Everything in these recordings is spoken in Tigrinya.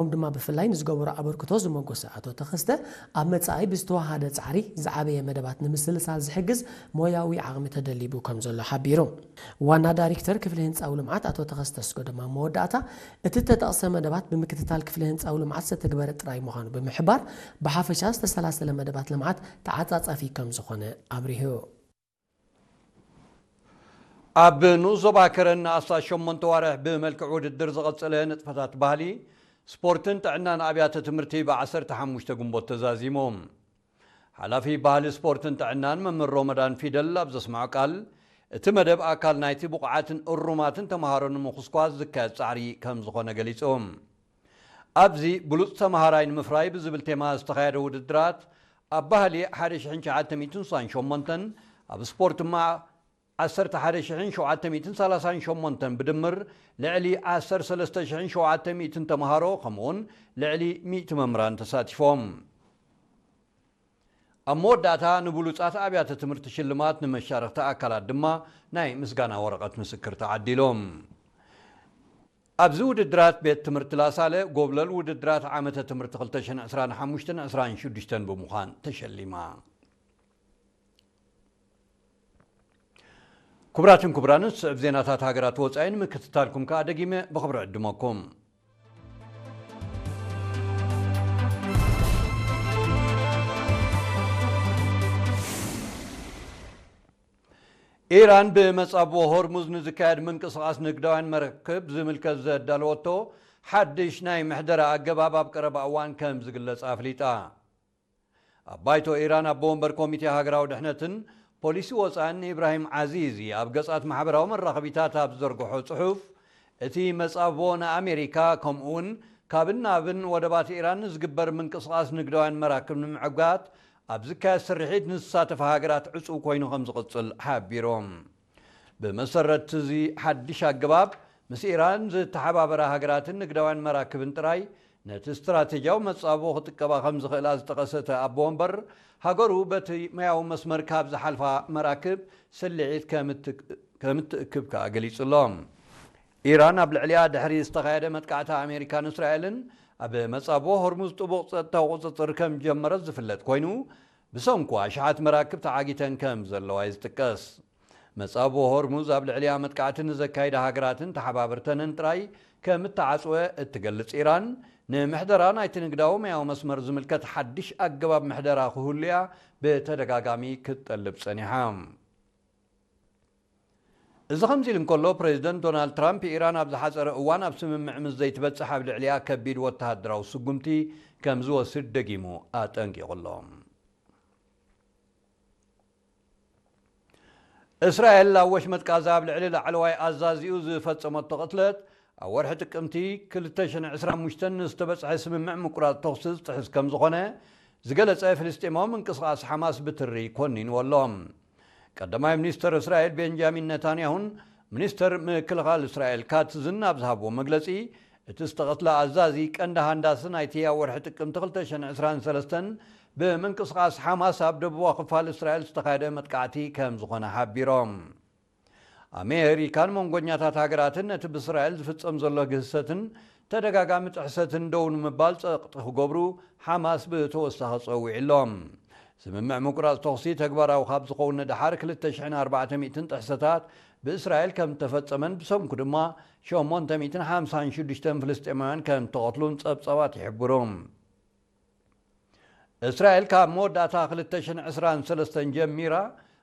ኦም ድማ ብፍላይ ንዝገበሮ ኣበርክቶ ዝመጎሰ ኣቶ ተኸስተ፣ ኣብ መጻኢ ብዝተዋሃደ ጻዕሪ ዝዓበየ መደባት ንምስልሳል ዝሕግዝ ሞያዊ ዓቕሚ ተደሊቡ ከም ዘሎ ሓቢሩ። ዋና ዳይሬክተር ክፍሊ ህንጻዊ ልምዓት ኣቶ ተኸስተ ኣስገዶም ኣብ መወዳእታ፣ እቲ እተጠቕሰ መደባት ብምክትታል ክፍሊ ህንጻዊ ልምዓት ዝተተግበረ ጥራይ ምዃኑ ብምሕባር፣ ብሓፈሻ ዝተሰላሰለ መደባት ልምዓት ተዓጻጻፊ ከም ዝኾነ ኣብሪሁ። ኣብ ንኡስ ዞባ ከረን ንኣስታት ሸሞንተ ዋርሕ ብመልክዕ ውድድር ዝቐጸለ ንጥፈታት ባህሊ፣ ስፖርትን ጥዕናን ኣብያተ ትምህርቲ ብ ዓሰርተ ሓሙሽተ ግንቦት ተዛዚሙ። ሓላፊ ባህሊ፣ ስፖርትን ጥዕናን መምህር ሮመዳን ፊደል ኣብ ዘስምዖ ቃል፣ እቲ መደብ ኣካል ናይቲ ብቑዓትን እሩማትን ተምሃሮ ንምኹስኳስ ዝካየድ ጻዕሪ ከም ዝኾነ ገሊጹ። ኣብዚ ብሉጽ ተምሃራይ ንምፍራይ ብዝብል ቴማ ዝተኻየደ ውድድራት፣ ኣብ ባህሊ ሓደ ሽሕን ትሽዓተ ሚእትን ስሳን ሸሞንተን፣ ኣብ ስፖርት ድማ ዓሰርተ ሓደ ሽሕን ሸውዓተ ሚእትን ሰላሳን ሸሞንተን ብድምር ልዕሊ ዓሰርተ ሰለስተ ሽሕን ሸውዓተ ሚእትን ተምሃሮ፣ ከምኡውን ልዕሊ ሚእቲ መምህራን ተሳቲፎም። ኣብ መወዳእታ ንብሉጻት ኣብያተ ትምህርቲ ሽልማት፣ ንመሻርኽቲ ኣካላት ድማ ናይ ምስጋና ወረቐት ምስክር ተዓዲሎም። ኣብዚ ውድድራት ቤት ትምህርቲ ላሳለ ጎብለል ውድድራት ዓመተ ትምህርቲ ክልተ ሽሕን ዕስራን ሓሙሽተን ዕስራን ሽዱሽተን ብምዃን ተሸሊማ። ክቡራትን ክቡራንን፣ ዝስዕብ ዜናታት ሃገራት ወጻኢ ንምክትታልኩም ከኣ ደጊመ ብኽብሪ ዕድመኩም። ኢራን ብመጻብቦ ሆርሙዝ ንዝካየድ ምንቅስቓስ ንግዳውያን መራክብ ዝምልከት ዘዳለወቶ ሓድሽ ናይ ምሕደራ ኣገባብ ኣብ ቀረባ እዋን ከም ዝግለጽ ኣፍሊጣ። ኣብ ባይቶ ኢራን ኣቦ ወንበር ኮሚቴ ሃገራዊ ድሕነትን ፖሊሲ ወጻእን ኢብራሂም ዓዚዚ ኣብ ገጻት ማሕበራዊ መራኸቢታት ኣብ ዝዘርግሖ ጽሑፍ፣ እቲ መጻብቦ ንኣሜሪካ ከምኡውን ካብን ናብን ወደባት ኢራን ንዝግበር ምንቅስቓስ ንግዳውያን መራክብ ንምዕጋት ኣብ ዝካየድ ስርሒት ንዝሳተፋ ሃገራት ዕጹው ኮይኑ ከም ዝቕጽል ሓቢሮም። ብመሰረት እዚ ሓድሽ ኣገባብ፣ ምስ ኢራን ዝተሓባበራ ሃገራትን ንግዳውያን መራክብን ጥራይ ነቲ ስትራቴጂያዊ መጻብቦ ክጥቀባ ከም ዝኽእላ ዝጠቐሰ እቲ ኣቦ ወንበር፣ ሃገሩ በቲ ማያዊ መስመር ካብ ዝሓልፋ መራክብ ስልዒት ከም እትክ-፣ ከም እትእክብ ከኣ ገሊጹ ኣሎ። ኢራን ኣብ ልዕሊኣ ድሕሪ ዝተኻየደ መጥቃዕቲ ኣሜሪካን እስራኤልን፣ ኣብ መጻብቦ ሆርሙዝ ጥቡቕ ጸጥታዊ ቁጽጽር ከም ጀመረት ዝፍለጥ ኮይኑ፣ ብሰንኩ ኣሽሓት መራክብ ተዓጊተን ከም ዘለዋ እዩ ዝጥቀስ። መጻብቦ ሆርሙዝ ኣብ ልዕሊኣ መጥቃዕቲ ንዘካይዳ ሃገራትን ተሓባበርተንን ጥራይ ከም እተዓጽወ እትገልጽ ኢራን፣ ንምሕደራ ናይቲ ንግዳዊ ማያዊ መስመር ዝምልከት ሓድሽ ኣገባብ ምሕደራ ክህሉ እያ ብተደጋጋሚ ክትጠልብ ጸኒሓ። እዚ ከምዚ ኢሉ እንከሎ፣ ፕሬዚደንት ዶናልድ ትራምፕ፣ ኢራን ኣብ ዝሓጸረ እዋን ኣብ ስምምዕ ምስ ዘይትበጽሕ ኣብ ልዕሊኣ ከቢድ ወተሃደራዊ ስጉምቲ ከም ዝወስድ ደጊሙ ኣጠንቂቑ ኣሎ። እስራኤል ኣብ ወሽመጥ ጋዛ ኣብ ልዕሊ ላዕለዋይ ኣዛዚኡ ዝፈጸመቶ ቅትለት፣ ኣብ ወርሒ ጥቅምቲ ክልተ ሽሕን ዕስራን ሓሙሽተን ንዝተበጽሐ ስምምዕ ምቁራጽ ተኹሲ ዝጥሕስ ከም ዝኾነ ዝገለጸ ፍልስጤማዊ ምንቅስቓስ ሓማስ ብትሪ ኮኒንዎ ኣሎ። ቀዳማይ ሚኒስተር እስራኤል ቤንጃሚን ነታንያሁን ሚኒስተር ምክልኻል እስራኤል ካትዝን ኣብ ዝሃብዎ መግለጺ፣ እቲ ዝተቐትለ ኣዛዚ ቀንዲ ሃንዳሲ ናይቲ ኣብ ወርሒ ጥቅምቲ ክልተ ሽሕን ዕስራን ሰለስተን ብምንቅስቓስ ሓማስ ኣብ ደቡባዊ ክፋል እስራኤል ዝተኻየደ መጥቃዕቲ ከም ዝኾነ ሓቢሮም። ኣሜሪካን መንጎኛታት ሃገራትን ነቲ ብእስራኤል ዝፍጸም ዘሎ ግህሰትን ተደጋጋሚ ጥሕሰትን ደው ንምባል ጸቕጢ ክገብሩ ሓማስ ብተወሳኺ ጸዊዑ ኣሎ። ስምምዕ ምቁራጽ ተኹሲ ተግባራዊ ካብ ዝኸውን ንደሓር ክልተ ሽሕን ኣርባዕተ ሚእትን ጥሕሰታት ብእስራኤል ከም እተፈጸመን ብሰንኩ ድማ ሸሞንተ ሚእትን ሓምሳን ሽዱሽተን ፍልስጤማውያን ከም እተቐትሉን ጸብጻባት ይሕብሩ። እስራኤል ካብ መወዳእታ ክልተ ሽሕን ዕስራን ሰለስተን ጀሚራ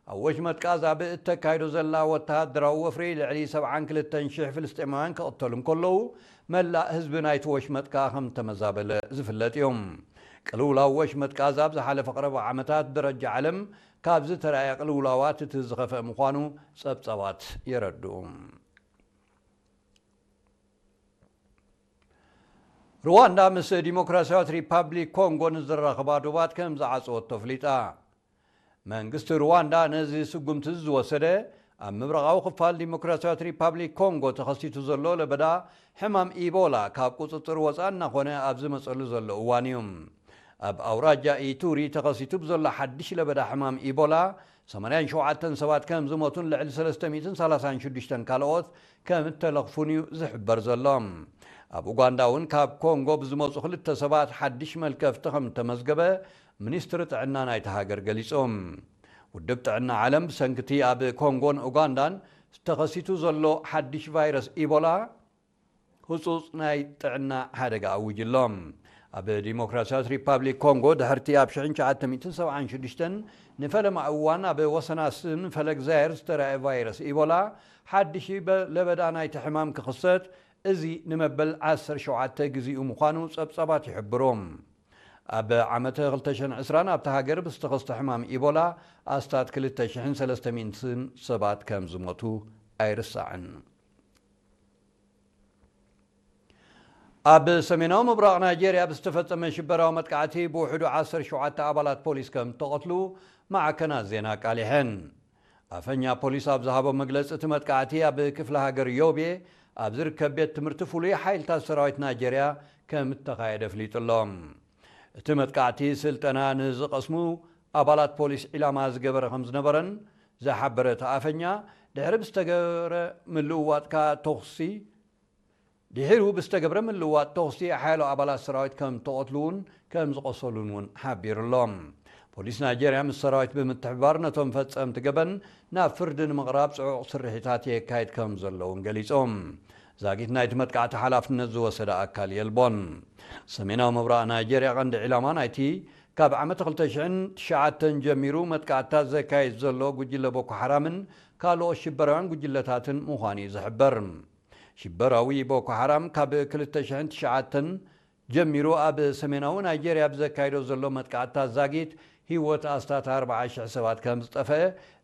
ኣብ ወሽመጥ ጋዛ ብእተካይዶ ዘላ ወተሃደራዊ ወፍሪ ልዕሊ ሰብዓን ክልተን ሽሕ ፍልስጤማውያን ክቕተሉ እንከለዉ፣ መላእ ህዝቢ ናይቲ ወሽመጥ ከኣ ከም እተመዛበለ ዝፍለጥ እዩ። ቅልውላው ወሽመጥ ጋዛ ኣብ ዝሓለፈ ቀረባ ዓመታት ብደረጃ ዓለም ካብ ዝተራእየ ቅልውላዋት እቲ ዝኸፍአ ምዃኑ ጸብጻባት የረድኡ። ሩዋንዳ ምስ ዲሞክራሲያዊት ሪፓብሊክ ኮንጎ ንዝራኸባ ዶባት ከም ዝዓጸወቶ ኣፍሊጣ። መንግስቲ ሩዋንዳ ነዚ ስጉምቲ ዝወሰደ፣ ኣብ ምብራቓዊ ክፋል ዲሞክራሲያዊት ሪፓብሊክ ኮንጎ ተኸሲቱ ዘሎ ለበዳ ሕማም ኢቦላ ካብ ቁጽጽር ወጻኢ እናኾነ ኣብ ዝመጸሉ ዘሎ እዋን እዩ። ኣብ ኣውራጃ ኢቱሪ ተኸሲቱ ብዘሎ ሓድሽ ለበዳ ሕማም ኢቦላ፣ ሰማንያን ሸውዓተን ሰባት ከም ዝሞቱን ልዕሊ ሰለስተ ሚእትን ሰላሳን ሽዱሽተን ካልኦት ከም እተለኽፉን እዩ ዝሕበር ዘሎ። ኣብ ኡጋንዳ እውን ካብ ኮንጎ ብዝመጹ ክልተ ሰባት ሓድሽ መልከፍቲ ከም እተመዝገበ ሚኒስትሪ ጥዕና ናይታ ሃገር ገሊጹ። ውድብ ጥዕና ዓለም ብሰንኪ እቲ ኣብ ኮንጎን ኡጋንዳን ተኸሲቱ ዘሎ ሓድሽ ቫይረስ ኢቦላ ህጹጽ ናይ ጥዕና ሓደጋ ኣዊጁ ኣሎ። ኣብ ዲሞክራሲያዊት ሪፓብሊክ ኮንጎ ድሕርቲ ኣብ ሽሕን ትሽዓተ ሚእትን ሰብዓን ሽዱሽተን ንፈለማ እዋን ኣብ ወሰን ኣስን ፈለግ ዛየር ዝተራእየ ቫይረስ ኢቦላ ሓድሽ በ-፣ ለበዳ ናይቲ ሕማም ክኽሰት፣ እዚ ንመበል ዓሰርተ ሸውዓተ ግዜኡ ምዃኑ ጸብጻባት ይሕብሩ። ኣብ ዓመተ ክልተ ሽሕን ዕስራን ኣብታ ሃገር ብዝተኸስተ ሕማም ኢቦላ ኣስታት ክልተ ሽሕን ሰለስተ ሚእትን ሰባት ከም ዝሞቱ ኣይርሳዕን። ኣብ ሰሜናዊ ምብራቕ ናይጄርያ ብዝተፈጸመ ሽበራዊ መጥቃዕቲ ብውሕዱ ዓሰርተ ሸውዓተ ኣባላት ፖሊስ ከም እተቐትሉ ማዕከናት ዜና ኣቃሊሐን። ኣፈኛ ፖሊስ ኣብ ዝሃቦ መግለጺ፣ እቲ መጥቃዕቲ ኣብ ክፍለ ሃገር ዮቤ ኣብ ዝርከብ ቤት ትምህርቲ ፍሉይ ሓይልታት ሰራዊት ናይጄርያ ከም እተኻየደ ኣፍሊጡ ኣሎ። እቲ መጥቃዕቲ ስልጠና ንዝቐስሙ ኣባላት ፖሊስ ዒላማ ዝገበረ ከም ዝነበረን ዝሓበረ እቲ ኣፈኛ፣ ድሕሪ ብዝተገበረ ምልውዋጥካ ተኹሲ ድሒሩ ብዝተገብረ ምልውዋጥ ተኹሲ ሓያሎ ኣባላት ሰራዊት ከም ተቐትሉ እውን ከም ዝቖሰሉን እውን ሓቢሩ ኣሎ። ፖሊስ ናይጄርያ ምስ ሰራዊት ብምትሕብባር ነቶም ፈጸምቲ ገበን ናብ ፍርዲ ንምቕራብ ጽዑቕ ስርሒታት የካይድ ከም ዘሎ እውን ገሊጾም። ዛጊት ናይቲ መጥቃዕቲ ሓላፍነት ዝወሰደ ኣካል የልቦን። ሰሜናዊ ምብራቕ ናይጄርያ ቀንዲ ዒላማ ናይቲ ካብ ዓመት ክልተ ሽሕን ትሽዓተን ጀሚሩ መጥቃዕትታት ዘካይድ ዘሎ ጉጅለ ቦኮ ሓራምን ካልኦት ሽበራውያን ጉጅለታትን ምዃኑ እዩ ዝሕበር። ሽበራዊ ቦኮ ሓራም ካብ ክልተ ሽሕን ትሽዓተን ጀሚሩ ኣብ ሰሜናዊ ናይጄርያ ብዘካይዶ ዘሎ መጥቃዕትታት ዛጊት ህይወት ኣስታት ኣርባዓ ሽሕ ሰባት ከም ዝጠፍአ፣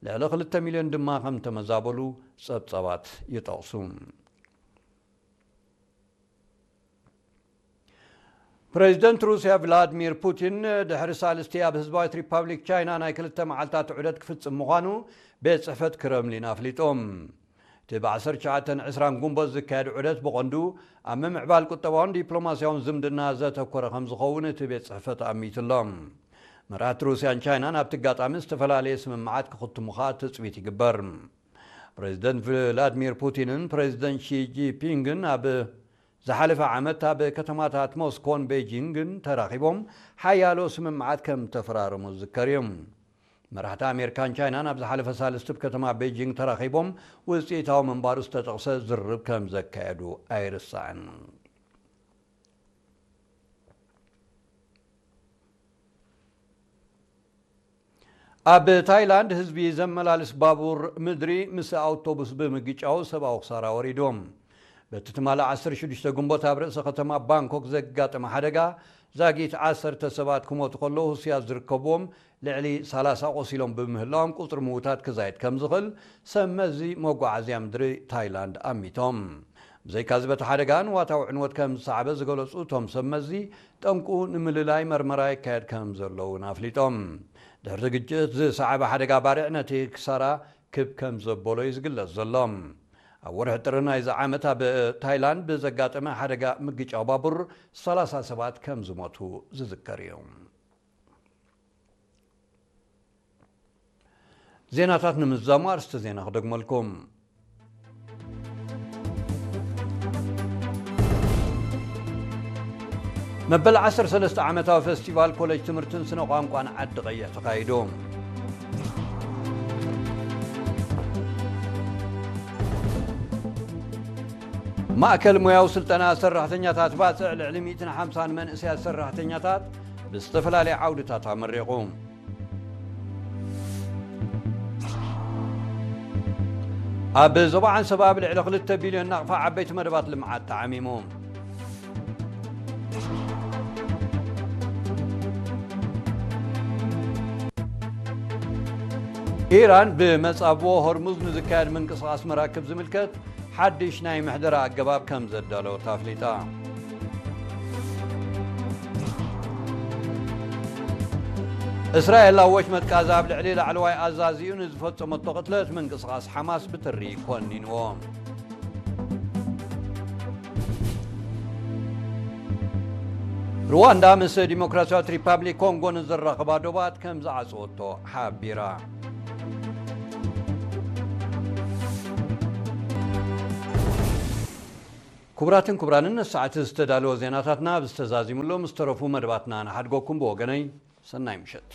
ልዕሊ ክልተ ሚልዮን ድማ ከም ተመዛበሉ ጸብጻባት ይጠቕሱ። ፕሬዚደንት ሩስያ ቭላድሚር ፑቲን ድሕሪ ሳልስቲ ኣብ ህዝባዊት ሪፓብሊክ ቻይና ናይ ክልተ መዓልታት ዑደት ክፍጽም ምዃኑ ቤት ጽሕፈት ክረምሊን ኣፍሊጦም። እቲ ብ ዓሰርተ ትሽዓተን ዕስራን ጉንቦት ዝካየድ ዑደት ብቐንዱ ኣብ ምምዕባል ቁጠባውን ዲፕሎማስያውን ዝምድና ዘተኮረ ከም ዝኸውን እቲ ቤት ጽሕፈት ኣሚቱ ኣሎ። መራሕቲ ሩስያን ቻይናን ኣብቲ ኣጋጣሚ ዝተፈላለየ ስምምዓት ክኽትሙ ከኣ ትጽቢት ይግበር። ፕሬዚደንት ቭላድሚር ፑቲንን ፕሬዚደንት ሺ ጂንፒንግን ኣብ ዝሓለፈ ዓመት ኣብ ከተማታት ሞስኮን ቤጂንግን ተራኺቦም ሓያሎ ስምምዓት ከም ተፈራረሙ ዝዝከር እዩ። መራሕቲ ኣሜሪካን ቻይናን ኣብ ዝሓለፈ ሳልስቲ ኣብ ከተማ ቤጂንግ ተራኺቦም ውፅኢታዊ ምንባሩ ዝተጠቕሰ ዝርርብ ከም ዘካየዱ ኣይርሳዕን። ኣብ ታይላንድ ህዝቢ ዘመላልስ ባቡር ምድሪ ምስ ኣውቶቡስ ብምግጫው ሰብኣዊ ክሳራ ወሪዱ። በቲ ትማሊ ዓሰርተ ሽዱሽተ ግንቦት ኣብ ርእሰ ከተማ ባንኮክ ዘጋጠመ ሓደጋ ዛጊት ዓሰርተ ሰባት ክሞቱ ከለዉ ህሱያት ዝርከብዎም ልዕሊ ሰላሳ ቆሲሎም ብምህላዎም ቁጽሪ ምዉታት ክዛይድ ከም ዝኽእል ሰብ መዚ መጓዓዝያ ምድሪ ታይላንድ ኣሚቶም። ብዘይካዚ በቲ ሓደጋ ንዋታዊ ዕንወት ከም ዝሰዓበ ዝገለጹ እቶም ሰብ መዚ ጠንቁ ንምልላይ መርመራ ይካየድ ከም ዘሎ እውን ኣፍሊጦም። ድሕሪ ግጭት ዝሰዓበ ሓደጋ ባርዕ ነቲ ክሳራ ክብ ከም ዘበሎ እዩ ዝግለጽ ዘሎ። ኣብ ወርሒ ጥሪ ናይዚ ዓመት ኣብ ታይላንድ ብዘጋጠመ ሓደጋ ምግጫው ባቡር ሰላሳ ሰባት ከም ዝሞቱ ዝዝከር እዩ። ዜናታት ንምዝዛሙ ኣርእስቲ ዜና ክደግመልኩም። መበል ዓሰርተ ሰለስተ ዓመታዊ ፈስቲቫል ኮሌጅ ትምህርትን ስነ ቋንቋን ዓዲ ቀይሕ ተኻይዱ። ማእከል ሞያዊ ስልጠና ሰራሕተኛታት ባጽዕ ልዕሊ ሚእትን ሓምሳን መንእሰያት ሰራሕተኛታት ብዝተፈላለየ ዓውድታት ኣመሪቑ። ኣብ ዞባ ዓንሰባ ኣብ ልዕሊ ክልተ ቢልዮን ናቕፋ ዓበይቲ መደባት ልምዓት ተዓሚሙ። ኢራን ብመጻብቦ ሆርሙዝ ንዝካየድ ምንቅስቓስ መራክብ ዝምልከት ሓድሽ ናይ ምሕደራ ኣገባብ ከም ዘዳለወት ኣፍሊጣ። እስራኤል ኣብ ወሽመጥ ጋዛ ኣብ ልዕሊ ላዕለዋይ ኣዛዚኡ ንዝፈጸመቶ ቅትለት ምንቅስቓስ ሓማስ ብትሪ ኮኒንዎ። ሩዋንዳ ምስ ዲሞክራሲያዊት ሪፓብሊክ ኮንጎ ንዘራኽባ ዶባት ከም ዝዓጸወቶ ሓቢራ። ክቡራትን ክቡራንን፣ ንሰዓት ዝተዳለወ ዜናታትና ኣብ ዝተዛዚምሎም ዝተረፉ መደባትና ንሓድጎኩም። ብወገነይ፣ ሰናይ ምሸት።